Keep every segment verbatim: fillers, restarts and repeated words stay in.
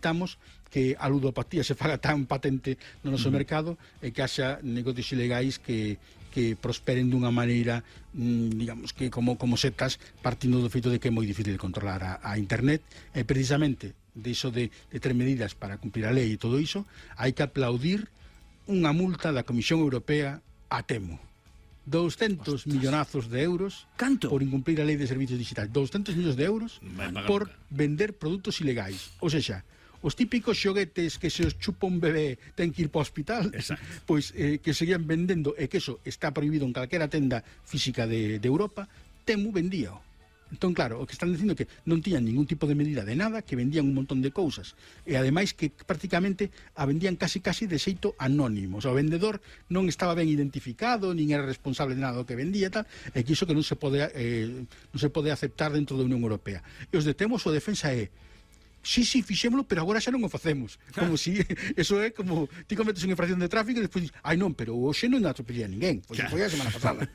Necesitamos que a ludopatía se faga tan patente no noso uh -huh. mercado e que haxa negocios ilegais que que prosperen dunha maneira, mmm, digamos, que como, como setas, partindo do feito de que é moi difícil de controlar a, a internet, e precisamente de iso de, de ter medidas para cumplir a lei e todo iso, hai que aplaudir unha multa da Comisión Europea a Temu. doscientos Ostras. millonazos de euros. Canto? Por incumplir a lei de servicios digitais. doscientos millóns de euros por vender produtos ilegais. Ou seja, os típicos xoguetes que se os chupa un bebé ten que ir para o hospital, pois eh, que seguían vendendo, e que eso está prohibido en calquera tenda física de, de Europa, Temu vendíao. Entón, claro, o que están dicindo que non tiñan ningún tipo de medida de nada, que vendían un montón de cousas, e ademais que prácticamente a vendían casi casi de xeito anónimo. O sea, o vendedor non estaba ben identificado, nin era responsable de nada do que vendía e tal, e que iso que non se pode, eh, non se pode aceptar dentro da Unión Europea. E os de Temu, a defensa é: sí, sí, fixémolo, pero agora xa non o facemos. Como si, eso é como ti cometes unha infracción de tráfico e despois dices, ai non, pero hoxe non atropellei a ninguén, pois foi a semana pasada.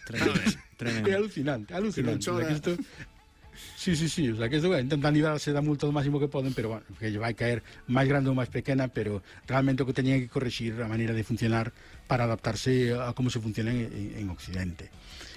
Tremendo, tremendo. É alucinante, alucinante. O sea, que isto, sí, sí, sí, o sea, que isto, bueno, intentan librarse da multa do máximo que poden, pero bueno, que lle vai caer máis grande ou máis pequena, pero realmente o que teñen que corregir a maneira de funcionar para adaptarse a como se funciona en, en, en Occidente.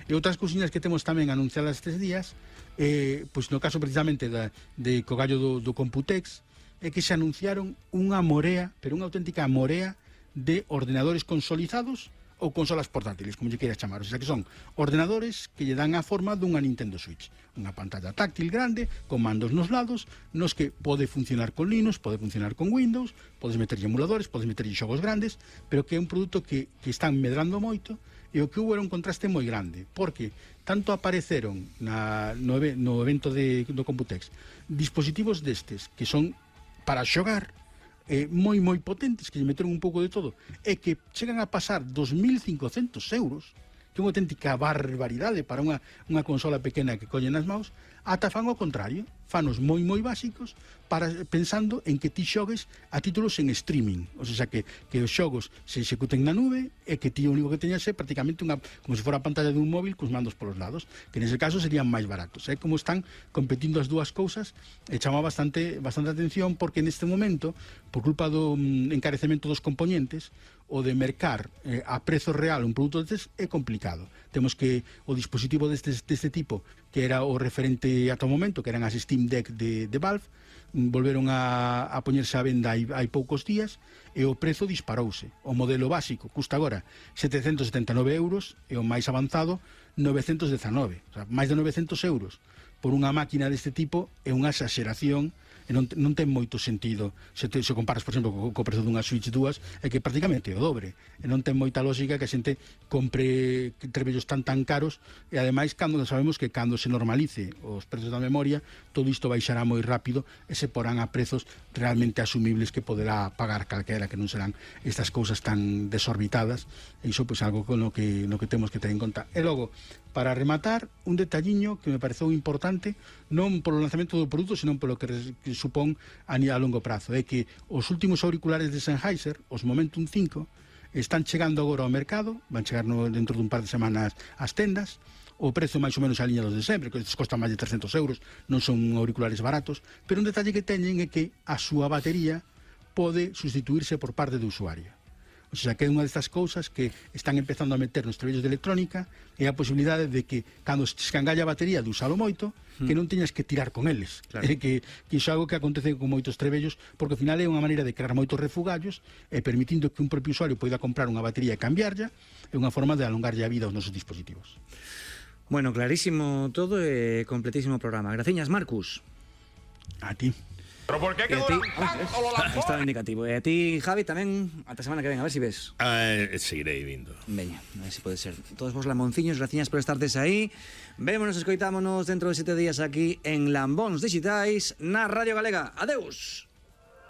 E outras cousiñas que temos tamén anunciadas estes días, eh, pois no caso precisamente da, de Cogallo do, do Computex, é que se anunciaron unha morea, pero unha auténtica morea de ordenadores consolidados ou consolas portátiles, como lle queiras chamar. O sea, que son ordenadores que lle dan a forma dunha Nintendo Switch. Unha pantalla táctil grande, con mandos nos lados, nos que pode funcionar con Linux, pode funcionar con Windows, podes meterlle emuladores, podes meterlle xogos grandes, pero que é un produto que, que están medrando moito, e o que hubo era un contraste moi grande, porque tanto apareceron na, no, no evento de, do Computex dispositivos destes que son para xogar, eh, moi moi potentes, que lle meteron un pouco de todo, e que chegan a pasar dos mil cincocentos euros, que é unha auténtica barbaridade para unha, unha consola pequena que colle nas maus, ata fan o contrario, fanos moi moi básicos, para pensando en que ti xogues a títulos en streaming, o sea, que, que os xogos se executen na nube e que ti o único que teñas é prácticamente unha, como se fora a pantalla dun móvil cos mandos polos lados, que nese caso serían máis baratos. É como están competindo as dúas cousas, e chama bastante, bastante atención, porque neste momento, por culpa do mm, encarecemento dos componentes, o de mercar eh, a prezo real un produto destes é complicado. Temos que o dispositivo deste, deste tipo, que era o referente ata o momento, que eran as Steam Deck de, de Valve, volveron a, a poñerse a venda hai, hai poucos días, e o prezo disparouse. O modelo básico custa agora setecentos setenta e nove euros, e o máis avanzado novecentos dezanove, o sea, máis de novecentos euros por unha máquina deste tipo é unha exageración, e non, non ten moito sentido se, te, se comparas, por exemplo, co, co prezo dunha Switch dúas, é que prácticamente é o dobre, e non ten moita lógica que a xente compre trebellos tan tan caros, e ademais cando sabemos que cando se normalice os prezos da memoria, todo isto baixará moi rápido e se porán a prezos realmente asumibles que poderá pagar calquera, que non serán estas cousas tan desorbitadas, e iso pois algo con lo que, no que temos que ter en conta. E logo, para rematar, un detalliño que me pareceu importante, non polo lanzamento do produto, senón polo que, que supón a, a longo prazo, é que os últimos auriculares de Sennheiser, os Momentum cinco, están chegando agora ao mercado, van chegar no, dentro dun par de semanas ás tendas, o prezo máis ou menos a liña dos de sempre, que costan máis de trescentos euros, non son auriculares baratos, pero un detalle que teñen é que a súa batería pode sustituirse por parte do usuario. O sea, que é unha destas cousas que están empezando a meter nos trebellos de electrónica, e a posibilidade de que, cando se escangalla a batería de usalo moito, mm. que non teñas que tirar con eles. Claro. É que, que iso é algo que acontece con moitos trebellos, porque ao final é unha maneira de crear moitos refugallos, e permitindo que un propio usuario poida comprar unha batería e cambiarlla, é unha forma de alongarlle a vida aos nosos dispositivos. Bueno, clarísimo todo e completísimo programa. Graciñas, Marcus. A ti. Pero por que quedou ah, estaba indicativo. E a ti, Javi, tamén ata semana que ven, a ver se si ves. Uh, seguirei vindo. Veña, a ver se si pode ser. Todos vos lamonciños, graciñas por estardes aí. Vémonos, escoitámonos dentro de sete días aquí en Lambóns Digitais na Radio Galega. Adeus.